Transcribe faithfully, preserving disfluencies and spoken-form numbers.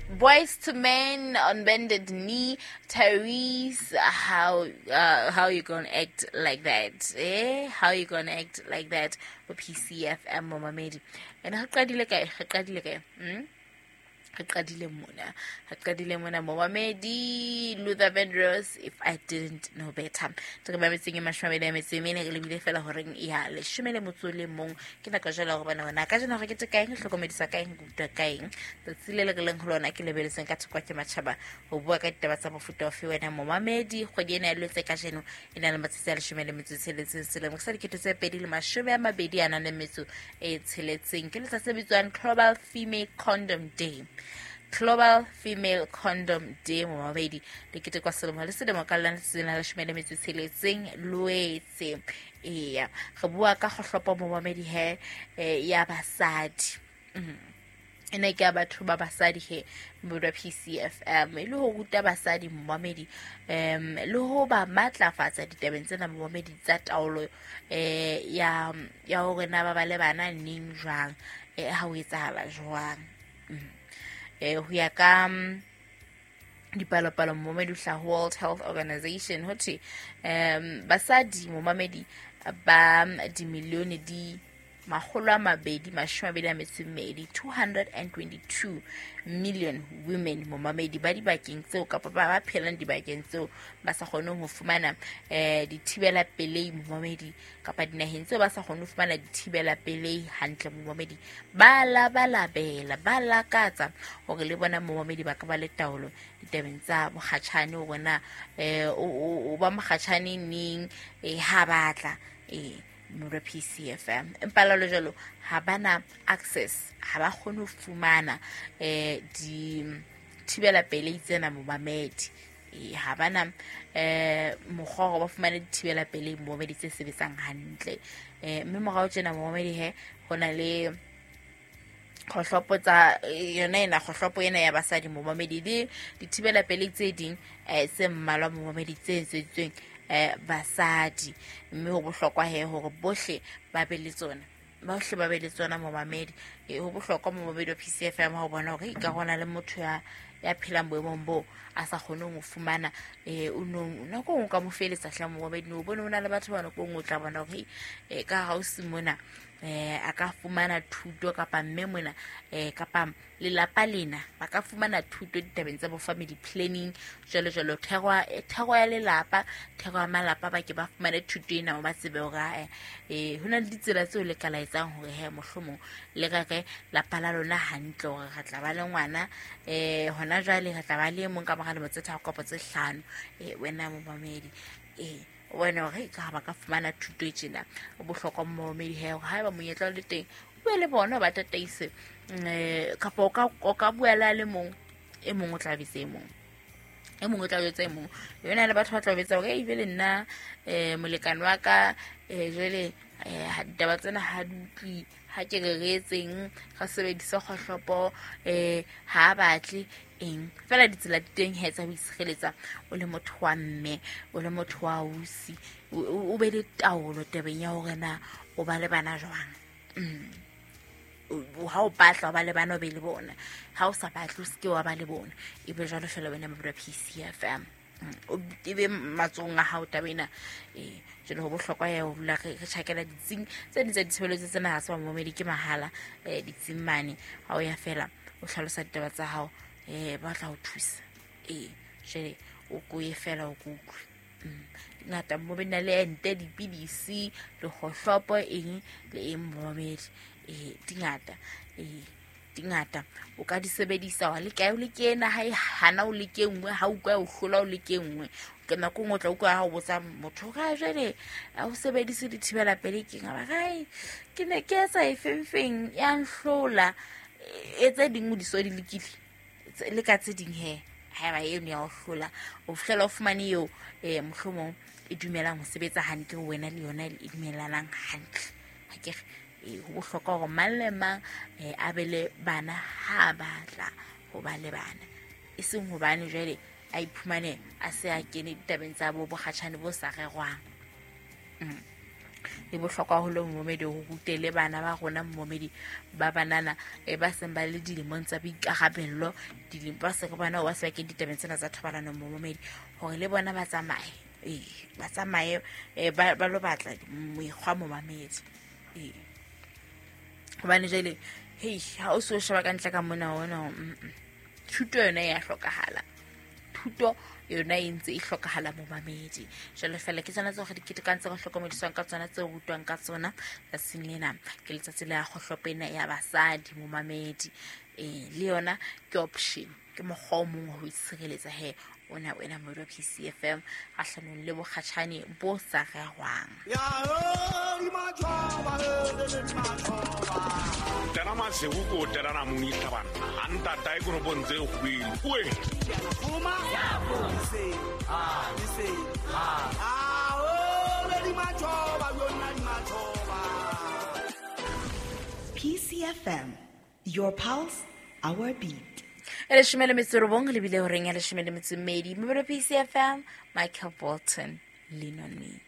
Boys to Men on Bended Knee. Tyrese, how uh, how you gonna act like that? Eh? How you gonna act like that? For P C F M momamedi. And ha qadile kae? Ha qadile kae? Hmm? Re qadile mona. Re qadile mona momamedi Luther Vandross, If I Didn't Know Better. Re mametseng e mashome a mabedi a metso e mene, re lebile fela horeng ya leshome le motso le mong. Ke nako jwale hore bana hona ka jeno re kete kaeng, re hlokomedisa kaeng, re utlwa kaeng. Tsatsi le le re leng ho lona ke lebeletseng ka thoko ke matjhaba ho bua ka ditaba tsa mofuta ofe wena momamedi. Kgwedi ena ya Lwetse kajeno e na le matsatsi a leshome le metso e tsheletseng selemo sa dikete tse pedi le mashome a mabedi a nang le metso e tsheletseng. Ke letsatsi le bitswang Global Female Condom Day. Global Female Condom Day momamedi le ketekwa selemo le selemo ka lona letsatsi la leshome le metso e tsheletseng Lwetse. Eya, re bua ka kgohlopo momamedi he ya basadi. Ena ke ya batho ba basadi he modwa P C F M e le ho ruta basadi momamedi um le ho ba matlafatsa ditabeng tsena momamedi tsa taolo eh ya ya hore na ba ba le bana neng jwang, eh ha ho etsahala jwang. Eh ho ya ka dipalopalo momamedi hla World Health Organization ho thwe um basadi momamedi ba dimilione di makgolo a mabedi mashome a mabedi a metso e mmedi, two hundred twenty-two million women momamedi ba dibakeng tseo kapa ba ba phelang dibakeng tseo ba sa kgoneng ho fumana eh dithibela pelei momamedi kapa dinaheng tseo ba sa kgoneng ho fumana dithibela pelei hantle momamedi, ba labalabela ba lakatsa hore le bona momamedi ba ka ba le taolo ditabeng tsa mokgatjhane hore na eh o ba mokgatjhane neng eh ha batla eh mora P C F M. Empa la jwalo ha bana access, ha ba kgone ho fumana eh di thibela pelei tsena momamedi. Eh ha bana eh mokgwa hore ba fumane dithibela pelei momamedi tse sebetsang hantle. Eh mme morao tjena momamedi he hona le kgohlopo tsa yona ena kgohlopo ena ya basadi momamedi le dithibela pelei tse ding eh tse mmalwa momamedi tse etseditsweng eh basadi, mme ho bohlokwa he hore bohle ba be le tsona, bohle ba be le tsona momamedi. E ho bohlokwa momamedi wa P C F M ha o bona hore e ka hona le motho ya ya phelang boemong bo a sa kgoneng ho fumana eh o no nako o ka mo feletsa hla momamedi, o bone o na le batho ba nako o tla bona hore e ka ha o se mona eh a ka fumana thuto kapa mme mona eh kapa lelapa lena ba ka fumana thuto ditabeng tsa bo family planning jwalo jwalo, thero thero ya lelapa, thero ya malapa ba ke ba fumane thuto ena ba tsebe hore eh hona le ditsela tseo le ka la etsang hore he mohlomong le rere lapa la lona hantle hore re tla ba le ngwana eh hona jwale re tla ba le mong ka mora lemo tse tharo kapa tse hlano eh wena momamedi eh wena hore ka ba ka fumana thuto e tjena. O bohlokwa momamedi he hore haeba monyetla o le teng o bue le bona ba tataise eh kapa o ka o ka bua le le mong e mong o tla bitsa e mong e mong o tla jwetsa e mong yona le batho ba tla betsa hore e be le nna eh molekane wa ka eh jwale eh ditaba tsena ha di utlwi ha ke re re etseng ra sebedisa kgohlopo eh ha batle eng fela ditsela di teng he tsa ho itshireletsa o le motho wa mme o le motho wa ausi o be le taolo tabeng ya hore na o ba le bana jwang. Ha o batla ba le bana o be le bona, ha o sa batle o seke wa ba le bona, e be jwalo fela wena mabura P C F M o ebe matsong a hao taba ena. Eh jwale ho bohlokwa ya ho dula re tjhakela ditsing tse ding tsa ditshebeletso tsena ha se ba momamedi ke mahala eh ditsing mane ha o ya fela o hlalosa ditaba tsa hao eh ba tla ho thusa eh jwale o ko ye fela o kutlwe ngata mo bena le ente dipidisi le kgohlopo eng le eng momamedi eh dingata eh dingata o ka di sebedisa wa le kae o le kena ha e hana o le ke nngwe ha o kwa o hlola o le ke nngwe ke nako nngwe o tla utlwa ha o botsa motho ga jwale a o sebedise dithibela pelei ke ngaba gae ke ne ke etsa e feng ya nhlola e tse ding o di so di lekile le ka tse ding he haeba eno ya o hlola o fihlela o fumane eo eh mohlomong e dumelang ho sebetsa hantle ho wena le yona e dumelanang hantle. Ha ke re ho bohlokwa hore mang le mang a be le bana ha batla ho ba le bana, e seng hobane jwale a iphumane a se a kene ditabeng tsa bo bokgatjhane bo sa rerwang. E bohlokwa haholo momedi ho rute le bana ba rona momedi ba banana e ba seng ba le dilemong tsa boikarabello, dilemo ba se bana ba se ba kene ditabeng tsena tsa thobalano momedi, hore le bona ba tsamaye, ee ba tsamaye ba ba lo batla mekgwa momamedi. Ee hobane jwale hei ha o so sheba ka ntle ka mona ona, thuto yona ya hlokahala, thuto yona e ntse e hlokahala momamedi. Jwale fela ke tsona tseo re di ketekang, tse re hlokomediswang ka tsona, tseo rutwang ka tsona tsatsing lena. Ke letsatsi la kgohlopo ena ya basadi momamedi. Ee le yona ke option, ke mokgwa o mong wa ho itshireletsa he ona wena Moedi P C F M kgahlanong le bokgatjhane bo sa rerwang. Tena masego ko terana moni tlhabana a ntata e koropong tse kgwele oe. P C F M, your pulse, our beat. E leshome le metso e robong le bile horeng ya leshome le metso e mmedi. Mobile P C F M, Michael Bolton, Lean on Me.